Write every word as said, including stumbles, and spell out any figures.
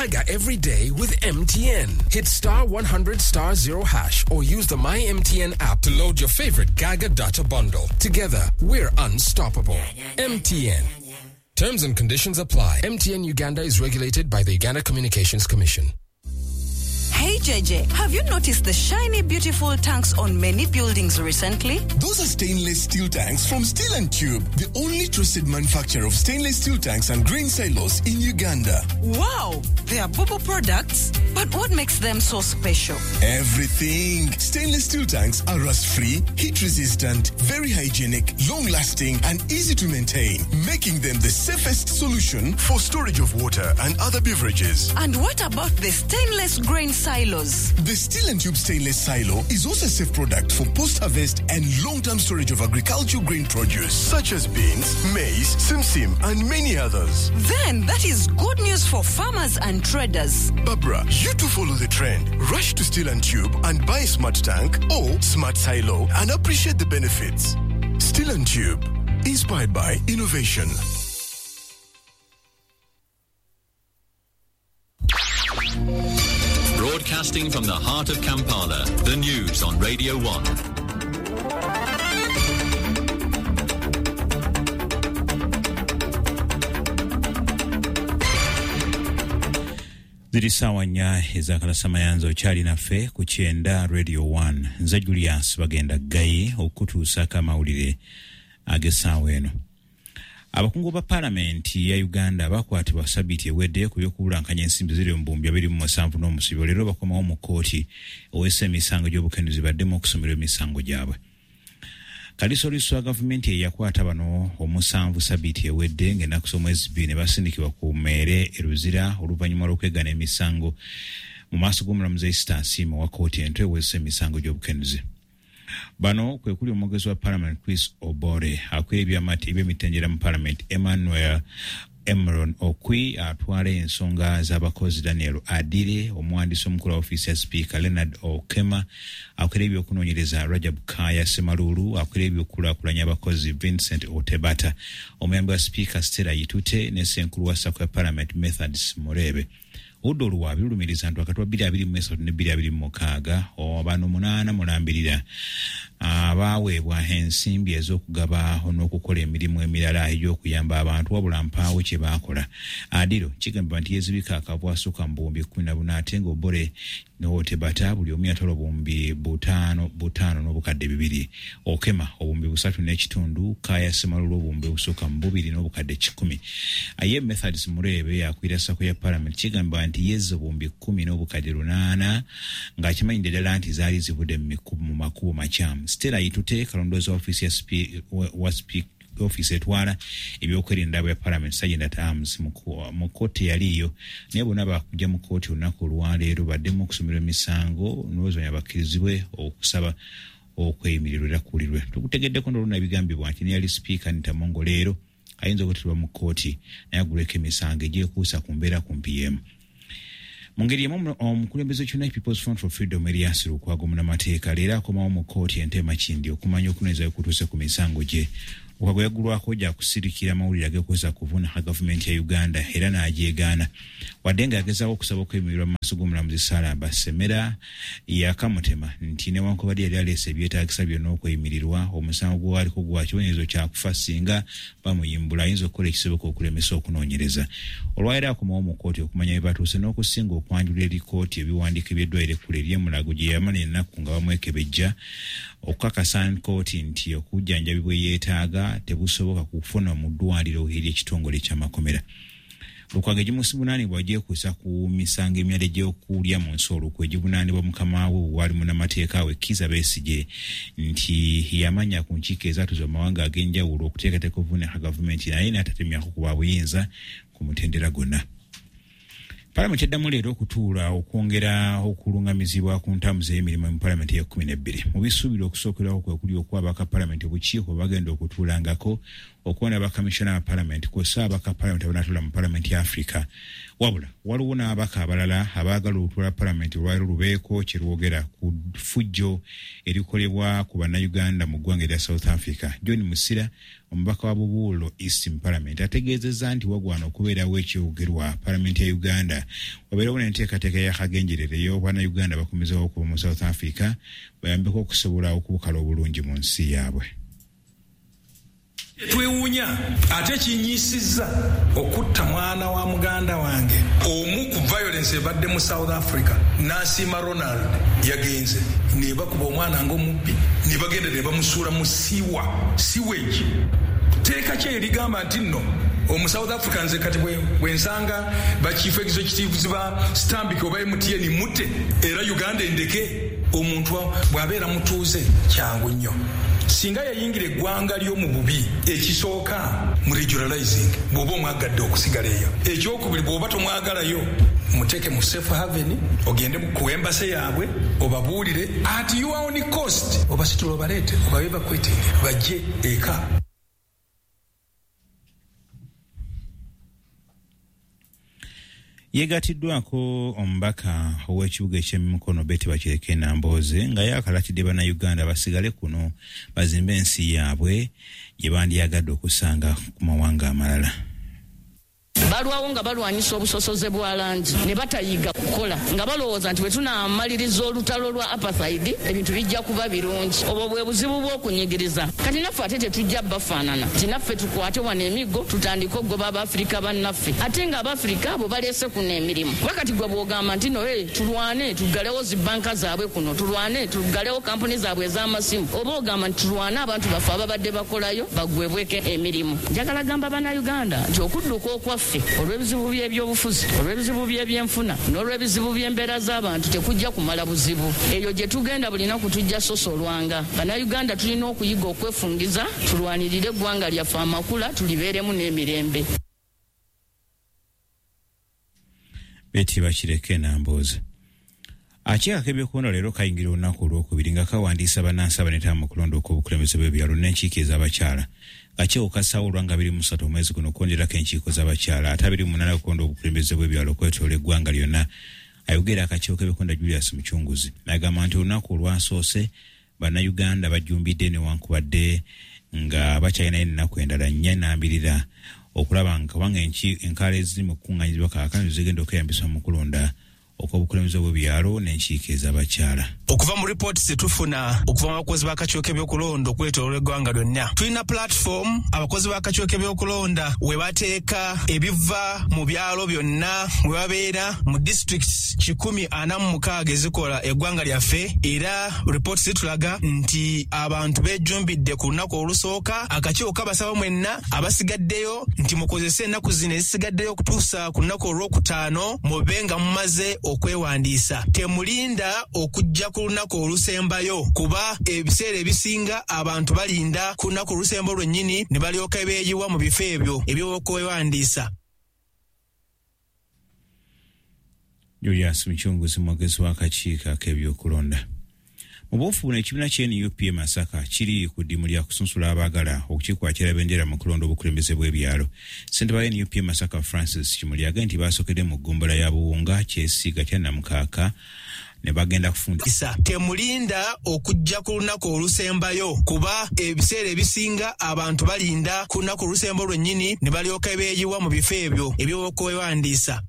Gaga every day with M T N. Hit star one hundred star zero hash or use the My M T N app to load your favorite Gaga data bundle. Together, we're unstoppable. M T N. Terms and conditions apply. M T N Uganda is regulated by the Uganda Communications Commission. Hey J J, have you noticed the shiny, beautiful tanks on many buildings recently? Those are stainless steel tanks from Steel and Tube, the only trusted manufacturer of stainless steel tanks and grain silos in Uganda. Wow, they are Bubu products. But what makes them so special? Everything. Stainless steel tanks are rust-free, heat-resistant, very hygienic, long-lasting, and easy to maintain, making them the safest solution for storage of water and other beverages. And what about the stainless grain silos? The Steel and Tube stainless silo is also a safe product for post-harvest and long-term storage of agricultural grain produce such as beans, maize, simsim, and many others. Then that is good news for farmers and traders. Barbara, you too follow the trend. Rush to Steel and Tube and buy a smart tank or smart silo and appreciate the benefits. Steel and Tube, inspired by innovation. Broadcasting from the heart of Kampala, the news on Radio one. Ziri sawa nnya ezakalasa mayanzo okyali naffe ku kyenda Radio one. Nze Julius Bagenda Gaye okutuusaako amawulire ag'essaawa eno. Abakungu ba Palamenti ya Uganda bakwatibwa sabiti ewedde ku by'okubulankanya ensimbi ziri mu buwumbi abiri mu musanvu n'omusibe. Leero bakomawo mu kkooti owessa emisango gy'obukenuzi baddemu okusomerwa emisango gyabwe. Kalisoliso wa gavumenti eyakwata bano omusanvu sabiti ewedde ng'ennaku z'omwezi bbiri ne basindikibwa ku mmeere e Luzira oluvannyuma lw'okwegaana emisango mu maaso g'omulamuzi Esther Asiimwe owa kkooti ento ewessa emisango gy'obukenuzi. Bano kwe kuli omwogezi wa Parliament Chris Obore, akwira eby'emitendera mu Parliament Emmanuel Emron Okwi, atwala ensonga z'abakozi Daniel Adire, omuwandiisi omukulu wa ofiisi ya Sipiika Leonard Okema, akwira ebyokunoonyereza Rajab Kaya Ssemalulu, akwira ebyokukulaakulanya abakozi Vincent Otebata, omuyambi wa Sipiika Stella Yitute ne ssenkulu wa SACCO ya Parliament Methods Murebe. Oludda oluwaabi lulumiriza nti wakati wa bbiri abiri mu esatu ne bbiri abiri mu mukaaga bano munaana mulambirira abaaweebwa ensimbi ez'okugaba n'okukola emirimu emirala egy'okuyamba abantu wabula mpaawo kye baakola. Adiro kigambibwa nti yeezibika akavu asukka mu buwumbi kkumi na buna ate ng'Obore n'Otebata buli omu yatwala obuwumbi butaano butaano n'obukadde bibiri. Okema obuwumbi busatu n'ekitundu, Kaya Ssemalulu obuwumbi busukka mu bubiri n'obukadde kikumi. Aye Methods Murebe akwira SACCO ya Parliament kigambibwa nti yezza obuwumbi kkumi n'obukadde lunaana ng'akimanyidde ddala nti zaali zivudde mu makubo makyamu. Stella Yitute kalondoozi wa ofiisi ya wa ofiisi etwala ebyokwerinda bya Parliament Sergeant at Arms mu kkooti yaliyo naye bonna bakujja mu kkooti olunaku olwaleero baddemu okusomerwa emisango n'oluvannyuma bakkirizibwe okusaba okweyimirirwa era kuwulirwe. Tukutegeddeko n'oluna ebigambibwa nti neyali Sipiika Anita Among leero ayinza okuteebwa mu kkooti naye agulweko emisango egyekuusa ku mbeera kumpi y'emu. Mu ngeri emu omukulembeze w'ekibiina People's Front for Freedom Erias Lukwago munnamateeka leero akomawo mu kkooti e Ntebe Makindye okumanya okunoonyereza okutuuse ku misango gye. Lukwago yaggulwako gya kusirikira amawulire ageekwesa kuvuna gavumenti ya Uganda era n'agyegaana. Wadde nga yagezaako okusaba okweyimirirwa mu maaso g'omulamuzi Sarah Basemera yakamutema nti newankubadde yali aleese ebyetaagisa byonna okweyimirirwa, omusango gwaliko gwa kibonerezo kya kufa singa bamuyimbula ayinza okukola ekisoboka okulemesa okunoonyereza. Olwaleero akomawo mu kkooti okumanya bye batuuse n'okusinga okwanjula eri kkooti ebiwandiiko eby'eddwaliro ekkulu ery'e Mulago gye yamala ennaku nga bamwekebejja okukakasa kkooti nti okujjanjabibwa yeetaaga tebusoboka kufuna mu ddwaliro ery'ekitongole ky'amakomera. Lukwago egimuvunaanibwa gyekuusa ku misango emirala egy'okulya mu nsi olukwe egivunaanibwa mukama we waali munnamateeka we Kizza Besigye nti yamanya ku nkiiko ezaatuuzibwa mu mawanga ag'enjawulo okuteekateeka okuvuunika gavumenti naye n'atatemyako ku bwabuyinza ku mutendera gwonna. Palamenti eddamu leero okutuula okwongera okulungamizibwa ku ntambuza y'emirimu mu Palamenti ey'ekkumi n'ebbiri. Mu bisuubirwa okusookerwako kwe kuli okuwa abaka Palamenti obukiiko bwe bagenda okutuulangako, okuwona abakamishona ba Palamenti kw'ossa abaka Palamenti abanaatuula mu Palamenti ya Africa. Wabula waliwo n'abaka abalala abaagala olutuula Palamenti olwaleero lubeeko kye lwogera ku ffujjo erikolebwa ku Bannayuganda mu ggwanga erya South Africa. John Musira Omubaka wa Bubuulo East mu Parliament ategeezezza nti wagwana okubeerawo ekyogerwa Palamenti ya Uganda wabeerawo n'enteekateeka y'akagenderere ey'Obannayuganda bakomezeewo okuva mu South Africa bayambeko okusobola okubukala obulungi mu nsi yaabwe. Twewuunya ate kinyiisizza okutta mwana wa muganda wange omu ku violence ebadde mu South Africa. Nasiima Ronald yagenze ne bakuba omwana ng'omubbi ne bagenda ne bamusuula mu siwa sewage. Teeka ki erigamba nti nno omu South Africa nze kati bwe nsanga ba chief executives ba Stanbic oba M T N mutte era Uganda endeke. Omuntu bw'abeera mutuuze kyangu nnyo. Singa yayingira eggwanga ly'omu bubi, ekisooka mu regionalizing bw'oba omwagadde okusigala eyo, ekyokubiri bw'oba tomwagalayo muteeke mu safe haven, ogende ku embassy yaabwe obabuulire at your own cost, obasitula obaleete obabe bakwetinge bajje eka. Yeegatiddwako omubaka ow'ekibuga eky'emikono Betty Bakireke Nambooze nga yakalatidde Bannayuganda basigale kuno bazimbe ensi yaabwe gye bandyagadde okusanga ku mawanga amalala. Balwawo nga balwanyisa obusosoze bwa langi ne batayiga kukola nga balowooza nti bwe tunaamaliriza olutalo lwa apartheid ebintu bijja kuba birungi. Obwo bwe buzibu bw'okunyigiriza. Kati naffe ate tetujja bafaanana nti naffe tukwate wano emiggo tutandike okugoba Abafirika bannaffe, ate nga Abafirika abo baleese kuno emirimu. Kuba kati gwe bw'ogamba nti no hey, tulwane tuggalewo zi banka zaabwe kuno, tulwane tuggalewo kampuni zaabwe ez'amasimu, oba ogamba nti tulwane abantu baffe ababadde bakolayo baggwebweko emirimu. Njagala gamba Bannayuganda nti okudduka okwaffe olw'ebizibu by'ebyobufuzi, olw'ebizibu by'ebyenfuna n'olw'ebizibu by'embeera z'abantu tekujja kumala buzibu. Eyo gye tugenda buli naku tujja sosolwanga. Bannayuganda tulina okuyiga okwefungiza, tulwanirire eggwanga lyaffe amakula, tulibeeremu n'emirembe. Betty Bakireke Nambooze. Akakiiko k'ebyokulonda leero kayingira olunaku olwokubiri nga kawandiisa bannansi abaneetaba mu kulonda okw'obukulembeze bw'ebyalo n'enkiiko ez'abakyala. Akakiiko kassaawo olwa nga abiri mu ssatu omwezi guno okwongerako enkiiko z'abakyala ate abiri mu munaana okukonda obukulembeze bw'ebyalo okwetoloola eggwanga lyonna. Ayogera akakiiko k'ebyokulonda Julius Muchunguzi agamba nti olunaku olwasoose Bannayuganda bajjumbidde newankubadde nga bakyalinayo ennaku endala nnya nambirira okulaba nga kubanga enkaala eziri mu kukuŋŋaanyizibwa kaakano zigenda okweyambisibwa mu kulonda okw'obukulembeze bw'ebyalo n'enkiiko ez'abakyala. Okuva mu ripooti zetufuna okuva mu bakozi b'akakiiko k'ebyokulonda okwetooloola eggwanga lyonna, tulina platform abakozi b'akakiiko k'ebyokulonda we bateeka ebiva mu byalo byonna we babeera mu districts kikumi ana mu mukaaga ezikola eggwanga lyaffe. Era ripooti zitulaga nti abantu beejumbidde ku lunaku olusooka. Akakiiko kabasaba mwenna abasigaddeyo nti mukozese ennaku zino ezisigaddeyo okutuusa ku lunaku olwokutaano mube nga mumaze okwewandiisa. Temulinda okujja ku lunaku olusembayo, kuba ebiseera ebisinga abantu balinda ku lunaku olusemba lwennyini ne balyoka beeyiwa mu bifo ebyo eby'okwewandiisa. Julius Muchunguzi mwogezi w'akakiiko ak'ebyokulonda. Mu buufu buno ekibiina kya N U P e Masaka kiri ku ddimu lya kusunsula abaagala okukikwatira bendera mu kulonda obukulembeze bw'ebyalo. Ssentebe wa N U P e Masaka Francis Kimuli agambye nti baasookedde mu ggombolola ya Buwunga, Kyesiiga, Kyannamukaaka ne bagenda kufundisa. Temulinda okujja ku lunaku olusembayo, kuba ebiseera ebisinga abantu balinda ku lunaku olusemba lwennyini ne balyoka beeyiwa mu bifo ebyo eby'okwewandiisa.